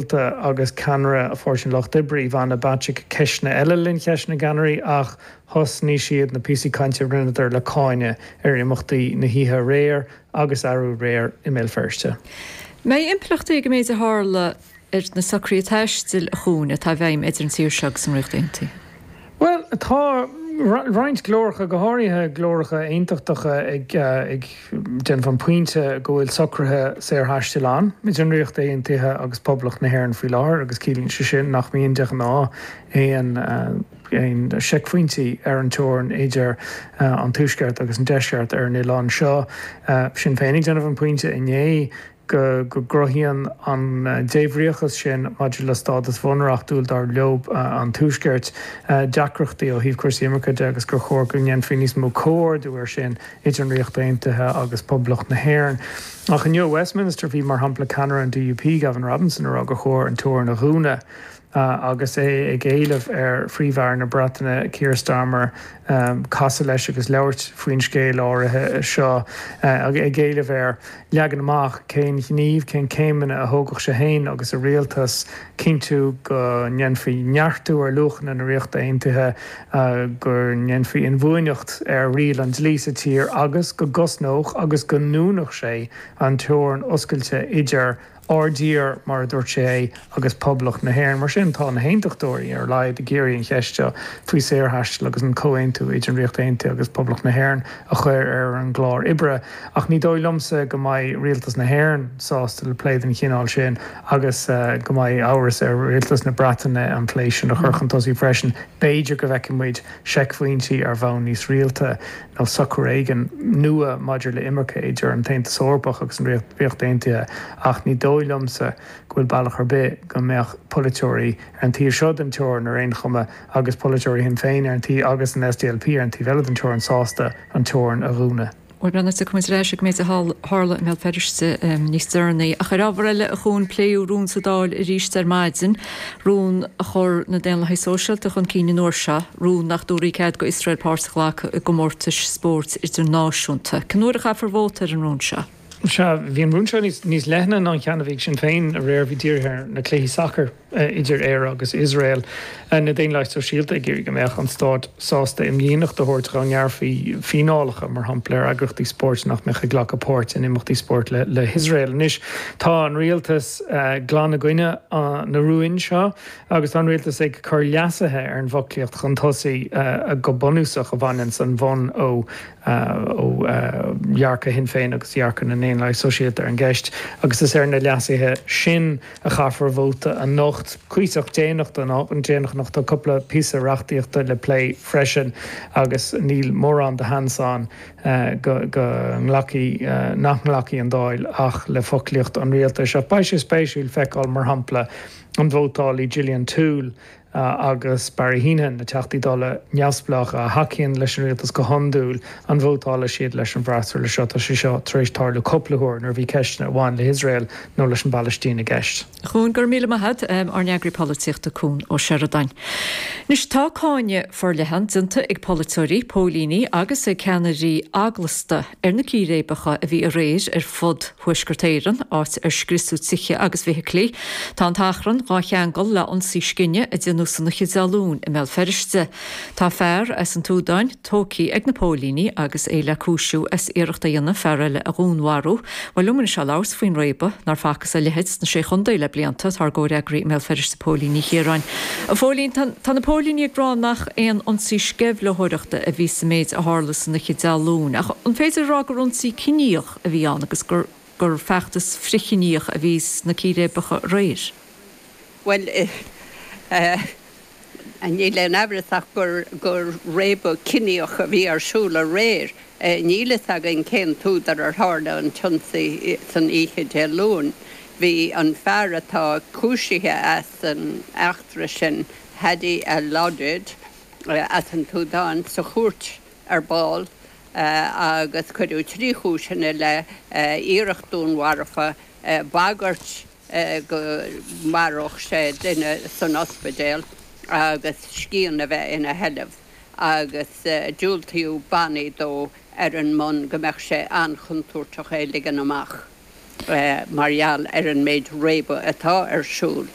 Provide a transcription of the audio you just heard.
Agus ceannaire Pháirtí an Lucht Oibre, Ivana Bacik, ceisteanna eile le linn cheist na gceannairí ach thosnaigh siad na píosaí cainte a rinneadar le cáineadh ar imeachtaí na hoíche aréir agus arú aréir i mBéal Feirste. Mbeidh impleachtaí ag an méid a tharla ar na socruithe taistil, a Chuain, atá i bhfeidhm idir an tír seo agus an Ríocht Aontaithe? Bhuel, tá roinnt glóracha, go háirithe glóracha aontachtacha, ag déanamh an pointe go bhfuil socruithe saorthaistil ann idir an Ríocht Aontaithe agus Poblacht na hÉireann faoi láthair agus ciallaíonn sé sin nach mbíonn de ghnáth aon aon seicphointí ar an teorainn idir an Tuaisceart agus an Deisceart ar an oileán seo. Sinn Féin ag déanamh an pointe inné go gcruthaíonn an débhríochas sin maidir le stádas bhunreachtúil, dar leo, an Tuaiscirt, deacrachtaí ó thaobh cúrsaí imirce de agus gur chóir go ndéanfaí níos mó comhordú air sin idir an Ríocht Aontaithe agus Poblacht na hÉireann. Ach inniu i Westminster bhí, mar shampla, ceannaire an DUP, Gavin Robinson, ag rá gur chóir an teorainn a dhúnadh. agus é ag éileamh ar Phríomh-Aire na Breataine, Keir Starmer, casadh leis agus labhairt faoin scéal áirithe seo, ag éileamh air leagan amach cén ghníomh, cén céimeanna a thógfadh sé féin agus a rialtas cinntiú go ndéanfaí neartú ar luachanna na Ríochta Aontaithe, go ndéanfaí inbhuaineacht ar riail an dlí sa tír agus go gcosnódh agus go ndúnfadh sé an teorainn oscailte idir Ár dtír, mar a dúirt sé é, agus Poblacht na hÉireann. Mar sin, tá na hAontachtóirí, ar a laghad, ag iarraidh an cheist seo faoi saorthaisteal agus an comhaontú idir an Ríocht Aontaithe agus Poblacht na hÉireann a chur ar an gclár oibre. Ach ní dóigh liomsa go mbeidh Rialtas na hÉireann sásta le plé den chineál sin agus go mbeidh amhras ar Rialtas na Breataine an plé sin a chur chun tosaigh freisin. B'fhéidir go bhfeicfidh muid seicphointí ar bhonn níos rialta nó socrú éigin nua maidir le imirce idir an tAontas Eorpach agus an Ríocht Aontaithe ach ní dóigh liomsa go bhfuil bealach ar bith go mbeadh polaiteoirí ar an taobh seo den teorainn ar aon chuma agus polaiteoirí Shinn Féin ar an taobh agus an SDLP ar an taobh eile den teorainn sásta an teorainn a dhúnadh. Bhuel, breathnóidh tiocfaidh muid ar ais ag an méid a tharla i mBéal Feirste níos deireanaí. Ach ar ábhar eile, a Chuain, pléadh rún sa Dáil arís ar maidin, rún a chuir na Daonlathaigh Sóisialta chun cinn an uair seo, rún nach dtabharfaí cead go Iosrael páirt a ghlacadh i gcomórtais spóirt idirnáisiúnta. Cén uair a chaithfear vóta ar an rún seo? Sea, bhí an rún seo níos leithne ná an ceann a bhí ag Sinn Féin aréir, bhí dírithe ar na cluichí sacair. idir Éire agus Iosrael. Na Daonlathaigh Sóisialta ag iarraidh go mbeadh an stát sásta imdhíonacht a thabhairt dá ngearrfaí fíneálacha, mar shampla, ar eagraíochtaí spóirt nach mbeadh ag glacadh páirt in imeachtaí spóirt le hIosrael. Anois tá an rialtas glan i gcoinne na rúin seo agus tá an rialtas ag cur leasuithe ar an bhfoclaíocht chun tosaigh go bunúsach a bhaineanns an bonn ó ó dhearcadh Shinn Féin agus dhearcadh na nDaonlathaithe Sóisialta ar an gceist agus is ar na leasuithe sin a chaithfear vóta anocht. Cuíosach déanach déanach anocht. Tá cúpla píosa reachtaíochta le plé freisin agus níl mórán de sheans ann go nglacfaidh, nach nglacfaidh an Dáil ach le foclaíocht an rialtais. Ach beidh sé spéisiúil feiceáil, mar shampla, an vótálfaidh Gillian Toole agus Barry Heneghan, na Teachtaí Dála neamhspleácha a thacaíonn leis an rialtas go hiondúil, an vótálfaidh siad leis an bhfreasúra seo? Tá sé seo tar éis tarlú cúpla huair nuair a bhí ceisteanna a bhain le hIosrael nó leis an bPalaistín i gceist. A Chuain, go raibh míle maith agat, ár n-eagraí polaitíochta Cuan Ó Seireadáin. Anois tá cáineadh forleathan déanta ag polaiteoirí, póilíní agus ag ceannairí eaglasta ar na círéibeacha a bhí aréir ar fud Thuaisceart Éireann, áit ar scriosadh tithe agus feithiclí. Tá an t-achrann dhá cheangal le ionsaí scine a déanadh san oíche Dé Luain i mBéal Feirste. Tá fear as an tSúdáin tógtha ag na póilíní agus é le cúisiú as iarracht a dhéanamh fear eile a dhúnmharú. Bhuel liom anois le labhairt faoin réabadh nár facthas a leithéid sna Sé Chontae le blianta, tá ár gcomhfhreagraí i mBéal Feirste Póilín Ní Chiaráin. A Phóilín, tá na póilíní ag rá nach aon ionsaí sceimhlitheoireachta a bhí sa méid a tharla san oíche Dé Luain, ach an féidir a rá gur ionsaí ciníoch a bhí ann agus gur gur feachtas frithchiníoch a bhí sna círéibeacha aréir? Bhuel, níl aon amhras ach gur gur réabadh ciníoch a bhí ar siúl aréir. Níl fhios againn cén t-údar ar tharla an t-ionsaí san oíche Dé Luain. Bhí an fear atá cúisithe as an eachtra sin, Hadi Alodid, as an tSúdáin, sa chúirt ar ball agus cuireadh 3 chúis ina leith, iarracht dúnmharfa, bagairt go maródh sé duine san ospidéal agus scian a bheith ina sheilbh agus diúltaíodh bannaí dó ar an mbonn go mbeadh sé an-chontúirteach é ligean amach. mar gheall ar an méid réabadh atá ar siúl.